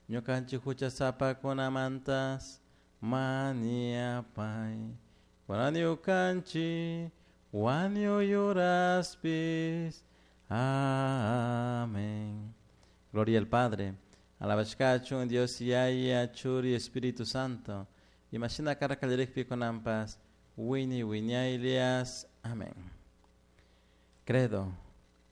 Ñukanchik huchasapakunamantas maniapay. Kunan ñukanchik wañuy uraspis. Amén. Gloria al Padre. Alabashkachun Dios Yaya, Churi, Espíritu Santo. Imashina karka kallarikpi kunanpas wini wiñaylias. Amén. Credo.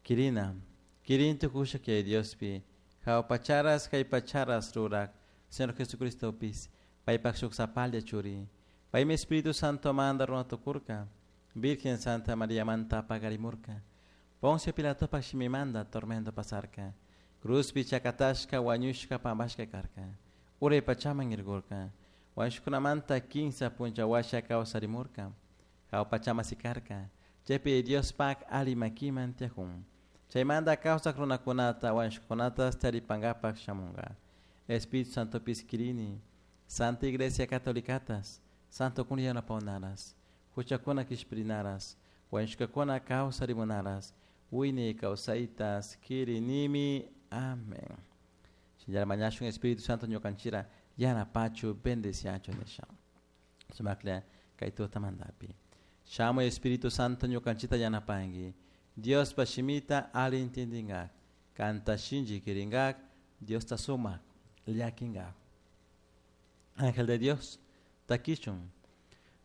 Kirina. Kirin tukusha kay Diospi. Jawpacharas kay pacharas rurak. Señor Jesucristo pis. Paypak shuk sapalla churi. Paymi Espíritu Santo manda runa tukurka. Virgen Santa María manta pagarimurka. Poncio Pilatopak shimimanda tormento pasarka. Cruzpi chakatashka wañushka pampashka karka. Uray pachaman irgurka. Wañushkunamanta kinsa puncha washa kawsarimurka. Jawa pachaman sikarka. Chaypi Diospak ali makiman tiyajun. Chaymanta kawsak runakunata wañushkakunatas taripankapak shamunka. Espíritu Santo kirini. Santa Iglesia Catolicatas. Santo kuna yanapawnaras. Huchakuna kishpirinaras. Wañushkakuna kawsarimunaras. Wiñay kawsaytas kirinimi. Amén. Shinallara mañashun Espíritu Santo ñukanchira yanapachu bendeciachu nisha. Sumakla kay tutamantapi. Shamuy Espíritu Santo ñukanchita yanapanki. Diospa shimita ali intindingak. Kanta shinchi kiringak. Diosta sumak llakinkak. Ángel de Dios, takichun.